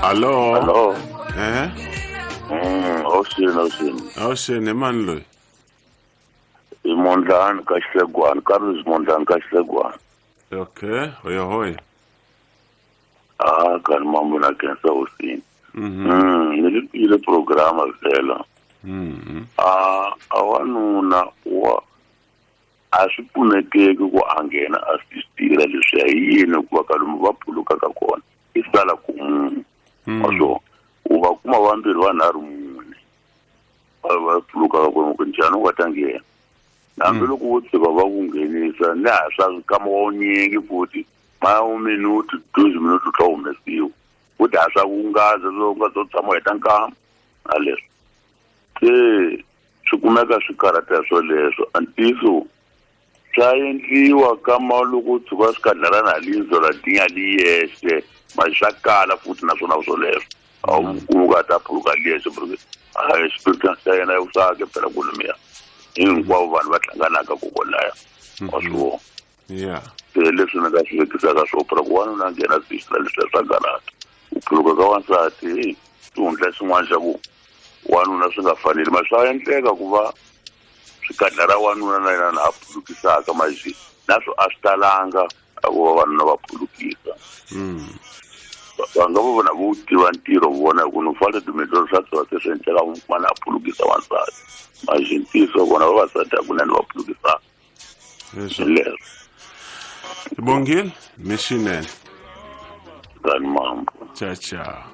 Hallo. Hello. Eh? Awuxini, awuxini. Awuxini, i mani loyi? I Mondlani ka Xihlegwana, Carlos Mondlani ka Xihlegwana. Okay, hoya hoya. Ah, kani mambo na khensa hosini. Ni li twile programa vhela. Ah, a wanuna wa a swi pfunekeki ku a nghena a swi tirha leswiya hi yini hikuva ka lomu va phulukaka kona i sala ku munhu wa swona u va kuma vambirhi vanharhu mune va va phulukaka kona ku njhani u nga ta nghena hambiloko wo tshuka va ku nghenisa ni ha swa nkama wa wunyingi futhi ma minuti 2 minuti u tla humesiwa futhi ha swa ku ngaza swo nga zo tshama u heta nkama na leswi se swi kumeka swi karhata swoleswo a ntiyiso swa endliwa kama loko u tshuka swi kadlala na lindzo la dinya li yexe ma swa kala futhi naswona swoleswo a wu kumi ku a ta phuluka li yexe porque a xipiritan xa yena usake phela kulumiya hinkwavo vanhu va hlanganaka kokolaya wa swi vona. Yeah. Se leswi ni nga swi vekisaka swo phela ku wanuna a nghena swi leswiya swa karhata ku phuluka ka wansati xihundla xin'wana xa ku wanuna swi nga faneli ma swa endleka ku va swikadla ra wanuna na yena na a phulukisaka maxi naswo a swi talanga a ku vavanuna va phulukisa. Va nga va vona vo tiva ntirho vona hi ku no fana timendlelo swa tsova se swi endleka mana a phulukisa wansati maxi ntiyiso vona vavasati hakunene va phulukisaka. Leswo. Leswo. Bongile, mishinene. Kani mambo. Ciao ciao.